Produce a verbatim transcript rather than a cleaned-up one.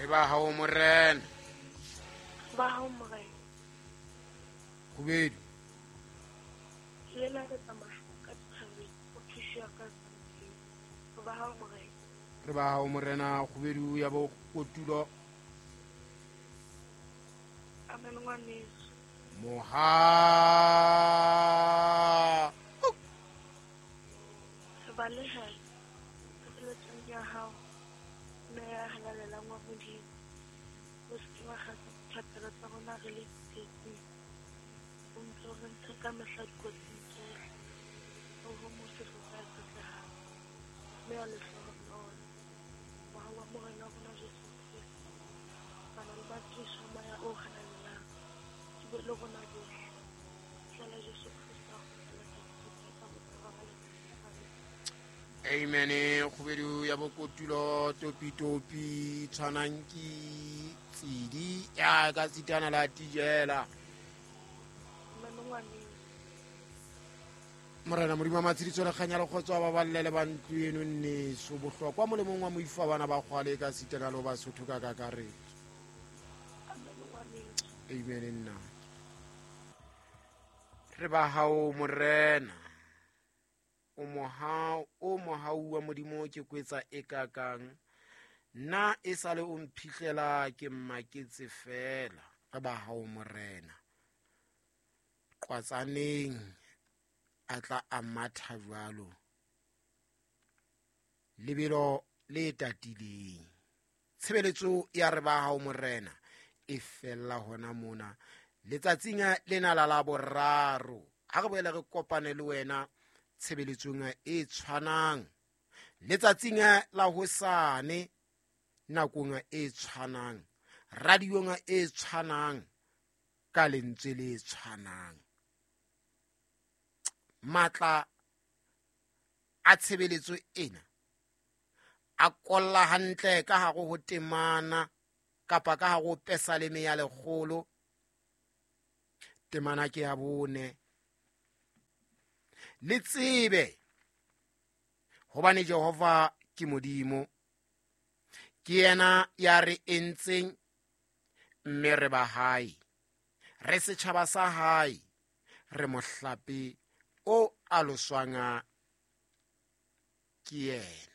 Re ba hao morena. Ba hao morena. Kgubedu. Le la re tsamaya ka thabeng o thuša ka re ba hao morena. Re ba hao morena kgubedu ya bo kotulo. Amen ngwaneso. Moha. Re baleha tshebeletsong ya hao mme ya halalelang wa Modimo. O se ke wa kgatha dithapelo tsa rona re le tsietsing. O ntse o re ntshe ka mehla dikotsing tsohle. O homose re sa tshetlehang. Mme ya lehlohonolo. Mohau wa Morena wa rona Jesu Kreste. Bana le batliswa moya o halalelang. Ke be le rona bohle. Tlala Jesu Kreste a kgutlela ka bophara ba letsatsi. Amen. Kgubedu ya bokotulo topi topi tshwanang ke tsidi ya ka sitana la tijela. Morena Modimo wa matshediso le kganya le kgotso ba ballele ba ntlo eno nneso bohlokwa molemong wa moifa bana ba kgwale ka sitana le ba Sotho ka kakaretso. Amen nna. Re ba hao morena. O mohau o mohau wa Modimo ke kwetsa e kakang nna e sale o mphihlela ke mmaketse fela. Re ba hao morena. Qwatsaneng a tla a matha jwalo lebelo le tatileng. Tshebeletso ya re ba hao morena e fella hona mona letsatsing lena la Laboraro. Ha re boele re kopane le wena tshebeletsong e tshwanang letsatsing la hosane nakong e tshwanang radiong e tshwanang ka lentswe le tshwanang. Matla a tshebeletso ena a kolla hantle ka hare ho temana kapa ka hare ho pesaleme ya lekgolo temana ke ya bone. Le tsebe hobane Jehova ke Modimo, ke yena ya re entseng mme re ba hae, re setjhaba sa hae, re mohlape o aloswang ke yena.